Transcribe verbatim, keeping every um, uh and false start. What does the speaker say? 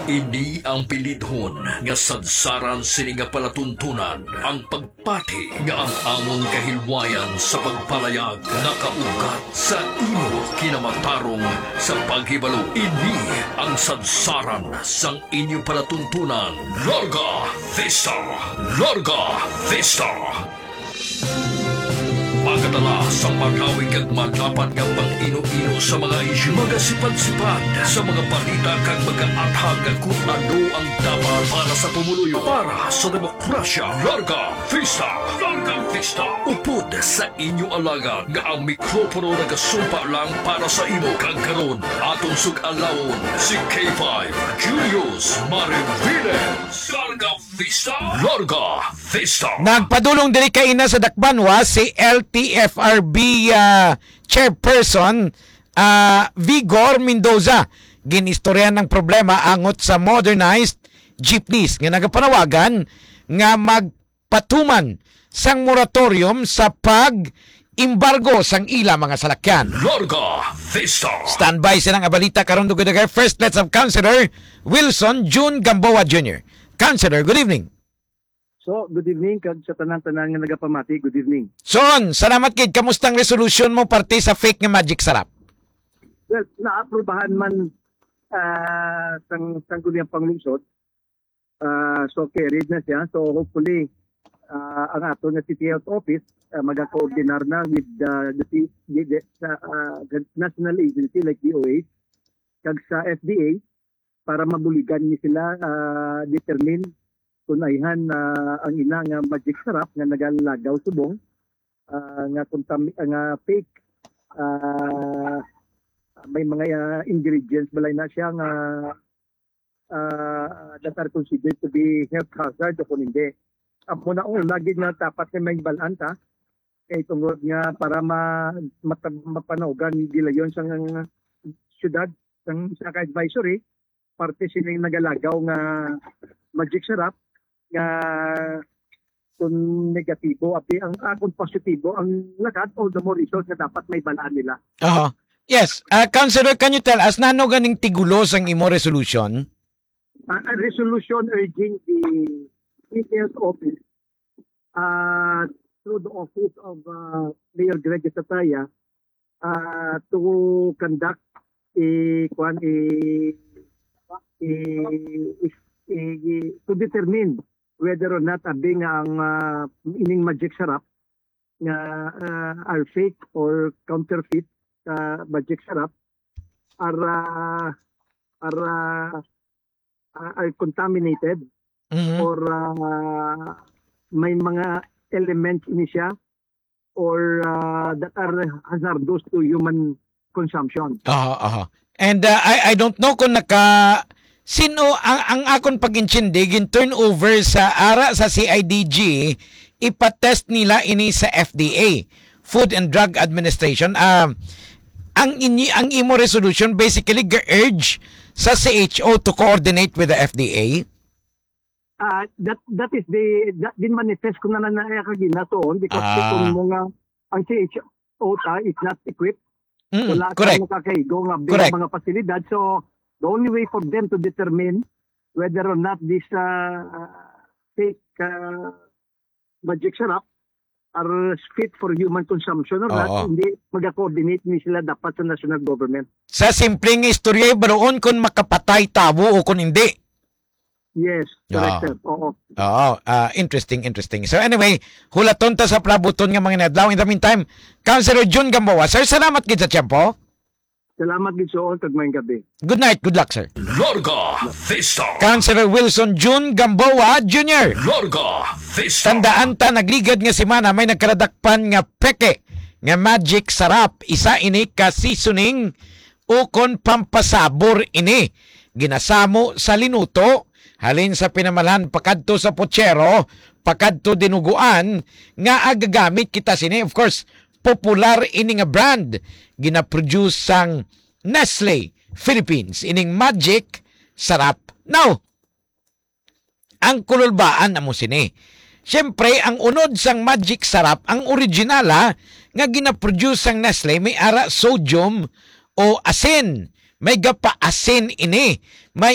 Ini ang pilidhon nga sadsaran sini nga palatuntunan, ang pagpati nga ang amon kahilwayan sa pagpalayag nakaugat sa imo kinamatarong sa paghibalo. Ini ang sadsaran sang inyo palatuntunan. Larga Vista! Larga Vista! Magadala sa magawig kag madapat nga pag-ino-ino sa mga isyu, magasipad-sipad sa mga balita kag magaathag kung ano ang dapat para sa pumuluyo, para sa demokrasya. Larga Vista! Larga Vista! Upod sa inyo alagad nga ang mikropono nagasumpa lang para sa imo, kag karon aton sug-alawon si K five Julius Mariviles. Larga Vista! Larga Vista! Nagpadulong diri kaina sa Dakbanwa si L T F R B, ah, Chairperson, ah, Vigor Mendoza. Ginistoryahan ang problema angot sa modernized jeepneys nga nagapanawagan nga magpatuman sang moratorium sa pag-embargo sang ila mga salakyan. Larga Vista! Standby sa nang balita karon, dugay-dugay. First, let's have Councilor Wilson June Gamboa Junior. Councilor, good evening. So, good evening kag sa tanan-tanan nga nagapamati, good evening. Son, salamat gid. Kamusta ang resolution mo parte sa fake nga Magic Sarap? Well, naaprubahan man, ah, sang Sangguniang Panglungsod. Ah, so, carried na siya. So, hopefully, ah, ang ato nga City Health Office, ah, magakoordinar na with, ah, the ci-, the, the, sa, ah, the national agency like D O H kag sa F D A para mabuligan ni sila, ah, determine kung ayhan, ah, ang ina nga Magic Sarap nga nagalagaw subong, ah, nga kontami-, nga fake, ah, may mga, ah, ingredients balay na siya nga, ah, that are considered to be health hazard o kung hindi. Amo na ang lagi nga dapat nga may balaan ta, kay tungod nga para ma-, mata-, mapanaugan gilayon sa syudad, sang, sa advisory, parte sining nagalagaw nga Magic Sarap nga kung negatibo, abi ang, ah, kung positibo ang lakat, all the more reason nga dapat may balaan nila. Aha. Yes. Ah, Councilor, can you tell us, nano ganing tigulo sang imo resolution? Ah, a resolution urging the City Health Office, ah, through the office of, ah, Mayor Greg Sataya, ah, to conduct a, kuwan, a, a, a, a, to determine whether or not abi nga ang, ah, ining Magic Sarap nga, ah, are fake or counterfeit sa Magic Sarap are, ah, are, ah, ah, are contaminated Mhm. or, ah, may mga elements ini siya or, ah, that are hazardous to human consumption. Aha, aha. And, uh, I, I don't know kung naka-, sino ang, ang akon pag-intindi, gin-turn over sa ara sa C I D G, ipatest nila ini sa F D A, Food and Drug Administration. Ah, ang inyi-, ang imo resolution basically ga-urge sa C H O to coordinate with the F D A. Ah, that, that is the, that din manifest ko na na, na kagina tuon, because Ah. kung mo nga ang C H O ta is not equipped, Mm, wala ka correct. makakaigo nga bi-, Correct. mga pasilidad. So, the only way for them to determine whether or not this, ah, fake, ah, Magic Sarap are fit for human consumption or not, Oo. hindi mag-coordinate ni sila dapat sa national government. Sa simpleng istorya, baroon kung makapatay tawo o kung hindi. Yes, correct, Oo. sir. Oo. Oo, ah, interesting, interesting. So anyway, hulaton ta sa palabuton nga mga inadlaw. In the meantime, Councilor Jun Gamboa, sir, salamat gid sa tiyempo. Salamat gid, sir, kag maayong gabi. Good night, good luck, sir. Larga Vista. Councilor Wilson Jun Gamboa Junior. Larga Vista. Tandaan ta, nagligad nga semana may nagkaladakpan nga peke nga Magic Sarap. Isa ini ka seasoning ukon pampasabor ini. Ginasamo sa linuto, halin sa pinamalhan pakadto sa pochero, pakadto dinuguan, nga agagamit kita sini. Of course, popular ini nga brand. Ginaproduce sang Nestle Philippines, ining Magic Sarap. Now, ang kululbaan amo sini. Siyempre, ang unod sang Magic Sarap, ang original, ha, nga ginaproduce sang Nestle, may ara sodium o asin. May gapaasin ini. May